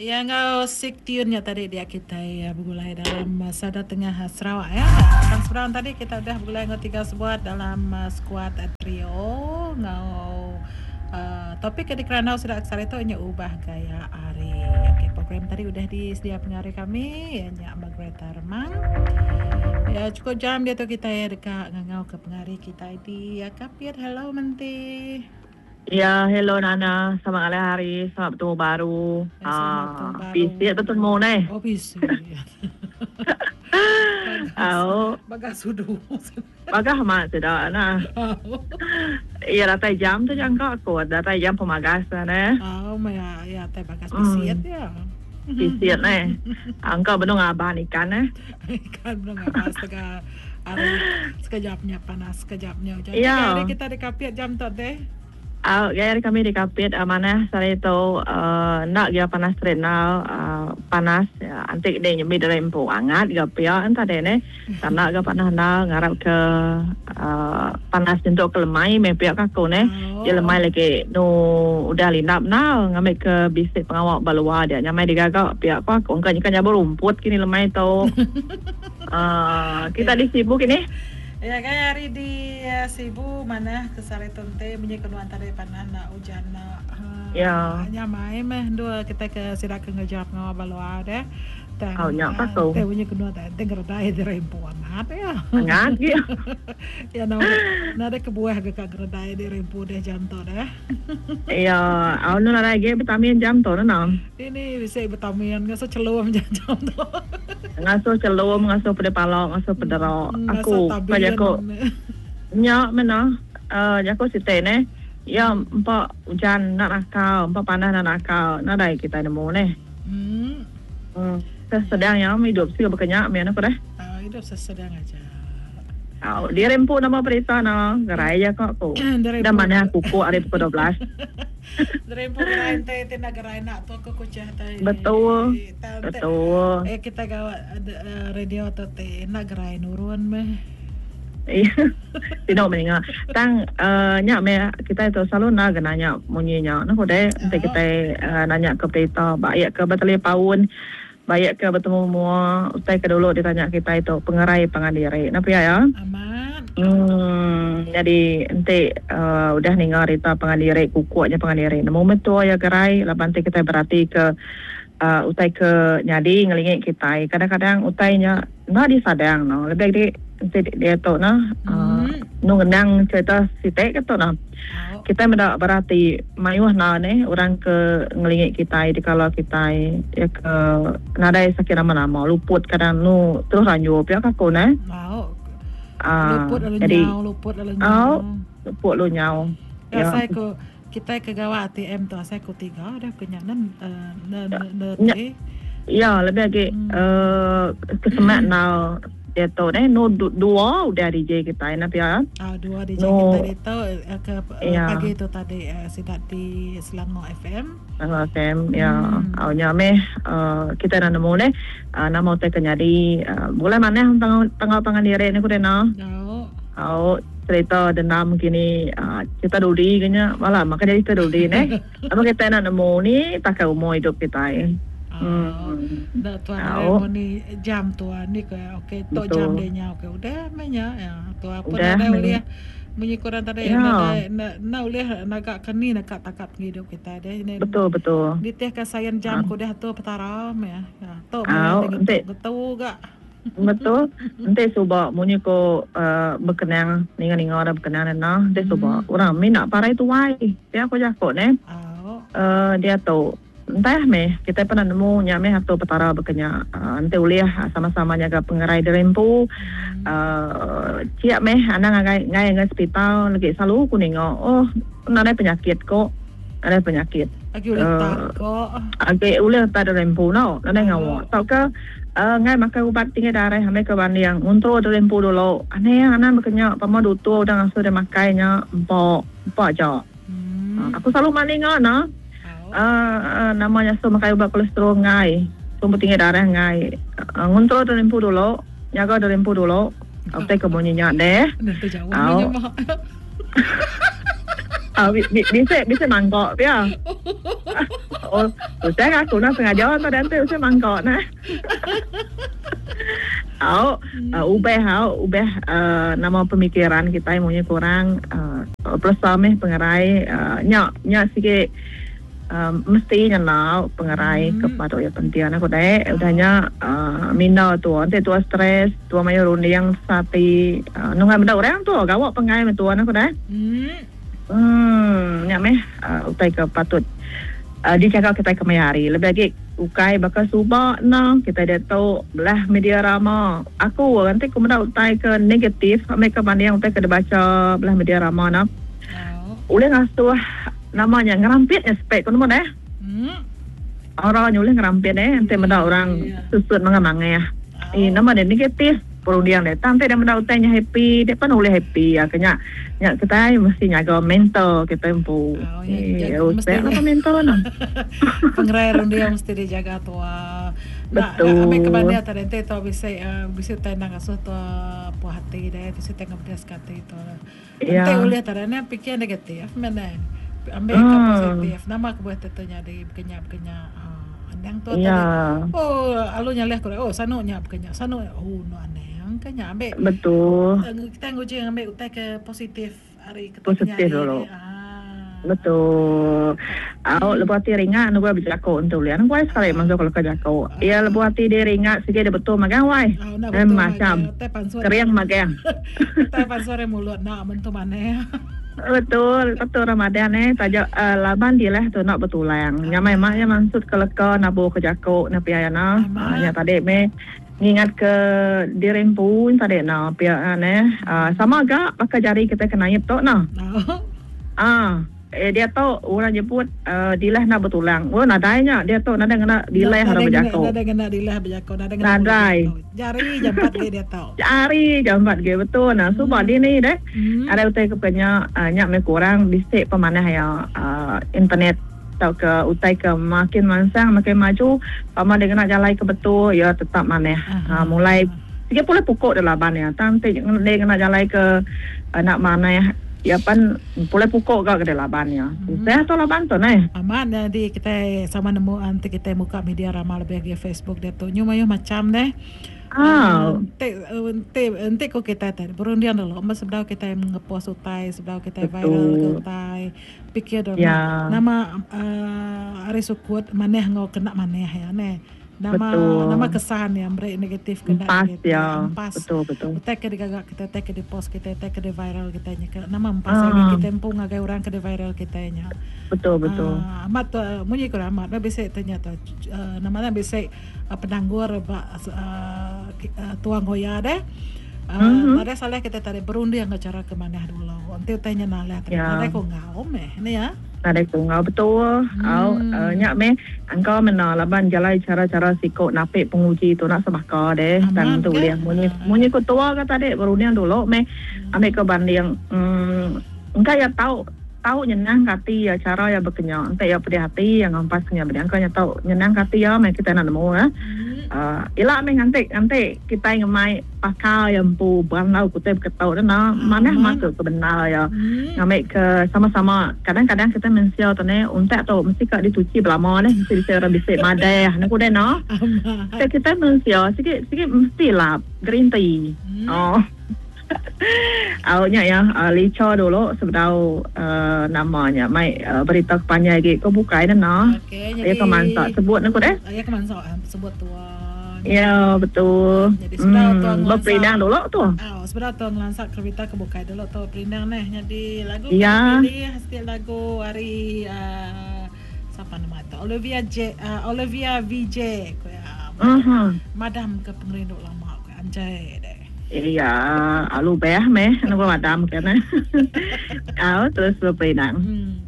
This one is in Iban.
Iya enggau sik tiun nya tadi dia kitai begulai dalam sada tengah Sarawak ya. Tang seberang tadi kita udah begulai enggau tiga sebuat dalam skuad trio enggau topik ke dikerandau sida ke sehari tu nya ubah gaya hari. Okey program tadi udah disedia pengari kami iya nya Margaretha Remang. Ya chukup jam diatu kitai deka ngangau ke pengari kitai di Kapit. Hello Menti. Ya, hello Nana. Selamat ngalih hari. Selamat betemu baru. Ya, selamat betemu Ah, baru. pisit betemu neh. Oh, pisit. Au, Bagas sudu. bagah amat sida nah. Iya datai jam tu jangka aku. Datai jam pemagas lah neh. Oh, maya ya tai bagas pisit Hmm, ya. pisit neh. Angka benung ngaban ikan neh. Ikan benung ngaban setengah hari sekejap nya panas sekejap nya ujan. Ni Iya. gaya hari kita di Kapit jam tu deh? Au gaya hari kami di Kapit manah sehari tu enda gia panas terit enggau panas anti deh nyembi diri empu angat ga pia enta deh neh. Tanda ga panas enda ngarap ke panas nyentuk ke lemai meh pia ka aku neh. Ji lemai lagi nu udah lindap endar ngambi ke bisi pengawa ba luar dia nyamai digaga pia ko aku engka nyeka nyabur rumput kini lemai tu. Aaa kita di Sibu kini. Ya gaya hari di Sibu manah ke sehari tu enti munyi ke nuan tadi panah enda ujan enda Ya. Nyamai meh endur kitai ke sida ke ngereja pengawa ba luar deh. Tang Au nya pa tu. Enti munyi ke nuan tadi enti ngeredai diri empu amat iya. Angat gi. Ya nadai kebuah ga ka ngeredai diri empu deh jam tu deh. Iya, au enda nadai agi betamin jam tu neh. Dini bisi betamin ngasuh chelum ja jam tu. Ngasuh chelum, ngasuh pedih pala, ngasuh pedera. Ngasuh Aku ka tabin. jaku nya meh nah jaku siti neh. Iya empa ujan enda nakal, empa panas enda nakal nadai kitai nemu neh. Uhh. Sesedang iya idup siu baka nya meh ku deh. Idup sesedang aja. Au diri empu nama berita ne gerai ja ka ku. Enda manah kukuk ari pukul 12. Diri empu gerai enti ti enda gerai enda tu ku kuchah tai. Betul. Betul. Eh kita gawa radio tu ti enda gerai nurun meh. Iya. Tino meh ninga. Tang nya meh kitai tu selalu enda ga nanya munyi nya. Neh udah enti kitai nanya ke berita ba iya ke betalipaun ba iya ke betemu mua utai ke dulu ditanya kitai tu pengerai pangan diri. Nah pia iya. Amat. Uhh nyadi enti udah ninga rita pangan diri kukuk nya pangan diri nemu meh tua iya gerai laban ti kitai berati ke utai ke nyadi ngelingi kitai kadang-kadang utai nya enda disadang no lebih agi enti diatu ne enu ngenang cerita siti ke tu ne kitai meda berati mayuh enda neh orang ke ngelingi kitai dikala kitai iya ke nadai sakit nama-nama luput kadang enu terus ranjur pia ka aku neh aaa jadi au luput lalu nyau. Kitai ke gawa ATM tu asai ku tiga dah ku nya nen ne Nya ti. iya lebih agi uhh ke semak enggau diatu neh nu dua udah DJ kitai nah pia. Ah dua DJ Nu kitai ditu ke iya. pagi tu tadi sida di Selangor FM. Selangor FM iya. Au nya meh uhh kitai enda nemu neh nama utai ke nyadi begulai manah enggau pangan diri ne ku deh nah. Au. Au cerita dendam kini cerita dudi ke nya bala maka jadi cerita dudi neh. Amun kitai enda nemu ni pakai umur idup kitai. Au. Enda tuan Au. mun ni jam tuan ni ke okey tok jam Betul. dia nya okey udah meh nya ya tuan pun Udah nadai meh ulih munyi ku orang tadi Ya. nadai enda enda ulih naga ke ni naka takat pengidup kitai deh. Betul betul. Nitih ka sain jam ke udah atur petara meh ya. Tok meh Au ngetu enti ngetu ga. Betul. Enti suba munyi ko bekenang ninga-ninga orang bekenang nena enti suba orang mina parai tuai pia ko jako neh. Diatu entah meh kitai pernah nemu nya meh atur petara baka nya enti ulih sama-sama nyaga pengerai diri empu chia meh anang ngagai enggai ngagai sepital legi selalu ku ninga oh nadai penyakit ko nadai penyakit. Agi ulih tat ko. Agi ulih tat diri empu no nadai ngawa tauka Enggai makai ubat tinggi darah ambi ke banding nguntur diri empu dulu. Anih anang baka nya pama dutur udah ngasuh diri makai nya empa empa aja. Aku selalu mandi enggau ne uhh nama nya suh makai ubat kolesterol enggai, sumber tinggi darah enggai. Nguntur diri empu dulu, nyaga diri empu dulu. Utai ke munyi nya deh. Au. Ah, bisi bisi mangkok pia. Oh, usah aku nak sengaja tu dan tu usah mangkok nah. Au, uh, ubah au, ubah uh, nama pemikiran kita munyi kurang uh, peresa meh pengerai uh, nya nya sikit uh, mesti ngena pengerai ke patut ya penting aku dek udah nya uh, minda tu enti tua stres tua mayuh runding sati uh, nunggai meda orang tu gawa pengai meh tua aku dek. Hmm nya meh uh, utai ke patut uh, dijaga kitai kemaya hari lebih agi ukai baka suba enda kitai diatu belah media rama aku enti ku meda utai ke negatif ambi ke banding utai ke dibacha belah media rama ne ulih ngasuh nama nya ngerampit nya spek ku nemu deh. Aura nya ulih ngerampit eh enti meda orang susut mangah mangah. Eh nama deh negatif perunding deh tang enti deh meda utai nya happy deh pan ulih happy ke nya. Nya kitai mesti nyaga mental kitai empu. Oh, ya, eh, mesti apa mental nah. Pengerai runding mesti dijaga tua. Betul. Nak ambil kebanding tadi enti tua bisi uh, bisi utai nang ngasuh tua puas hati deh, bisi utai ngepedas ke hati tua. Ya. Enti ulih tadi ne pikir negatif men eh. Ambil ke positif. Nama kebuah tu nyadi bekenya bekenya. Uh, anang tua ya. tadi. Oh, alu nyalih ku oh sanu nya bekenya. Sanu oh no anang. Ke nya ambil. Betul. Kita nguji ambil utai ke positif ari ke positif dulu. Ah. Betul. Au lebuh ati ringat anu gua bejako entu ulih. Anu wai sekali masuk kalau ke jako. Iya lebuh ati dia ringat sigi dia betul magang wai. Eh, macam kering magang. Utai pansut ari mulut enda mentu manah. Betul, betul Ramadan eh taja uh, laban dilah tu nak betulang. Nyamai mak ya mansut ke leka nabur ke jako na pia ya na. Uh, nya tadi me ngingat ke diri empu tadi na pia ne. Uh, sama ga baka jari kita ke naip tu na. Ah, eh dia tu orang nyebut uh, dilah nak betulang. Oh nadai nya dia tu nadai ngena dilah orang bejako. Nadai ngena dilah bejako, nadai ngena nadai. Jari jampat ge dia tu. Jari jampat ge betul nah. Suba hmm. dini deh. Hmm. Ada utai ke penya uh, nya me kurang bisi pemanah ya uh, internet tauka utai ke makin mansang makin maju pama dia ngena jalai ke betul ya tetap manah. Uh, mulai Sigi pulih pukuk deh laban iya. Tang ti dia ngena jalai ke enda manah iya pan pulih pukuk ga ke deh laban iya. Tusah tu laban tu neh. Amat nyadi kitai sama nemu enti kitai muka media rama lebih agi Facebook diatu nyu mayuh macham deh. Enti enti enti ku kitai ti berunding dulu meh sebedau kitai ngepost utai sebedau kitai viral ke utai pikir dulu nama uhh ari sukut manah enggau kena manah iya neh. Nama Betul. nama kesan iya meri negatif ke enda Empas negatif. iya. Empas. Betul betul. Utai ke digaga kitai, utai ke dipost kitai, utai ke diviral kitai nya ke nama empas iya ngagai Ah. kitai empu ngagai orang ke diviral kitai nya. Betul betul. Ah amat tu munyi ku amat bah bisi tu nya tu uhh nama nya bisi penanggur ba uhh tuang goya deh. Uhh Mhm. nadai salah kitai tadi berunding enggau chara ke manah dulu. Enti utai nya nalah tadi Ya. nadai ku enggau meh ne ya. Nadai ku enggau betul. Au nya meh angka mena laban jalai chara-chara siku napi penguji tu enda sebaka deh. Tang Amat tu ke. ulih munyi munyi ku tua ke tadi berunding dulu meh ambi ke banding uhh engka iya tau tau nyenang ke ati iya chara iya bekenya enti iya pedih ati iya ngampas ke nya bedih engka nya tau nyenang ke ati iya meh kitai enda nemu eh. Uhh ila meh nganti nganti kitai ngemai Pakar iya empu berandau ke utai beketu tu enda manah Amat. masuk ke bendar iya ngambi ke sama-sama kadang-kadang kitai mensia tu neh untak tu mesti ka dituchi belama neh mesti bisi orang bisi madah ne ku deh no. Amat. Ke kitai mensia sigi sigi mesti lap gerinti. Oh. Au nya iya licha dulu sebedau uhh nama nya mai berita ke panjai agi ke bukai ne no. Okey Iya nyadi ke mansa sebut ne ku deh. Iya ke mansa sebut tua. Ya betul. Jadi sebedau tu Hmm, ngelansa beperindang dulu tu. Oh, sebedau tu ngelansa kerita ke bukai dulu tu perindang neh. Jadi lagu ke Ya. dipilih siti lagu ari uh, siapa nama tu? Olivia J uh, Olivia VJ ku ya. Mhm. Madam ke pengerindu lama ku anjai deh. Iya, alu beh meh nama madam ke neh. Au terus beperindang. Hmm.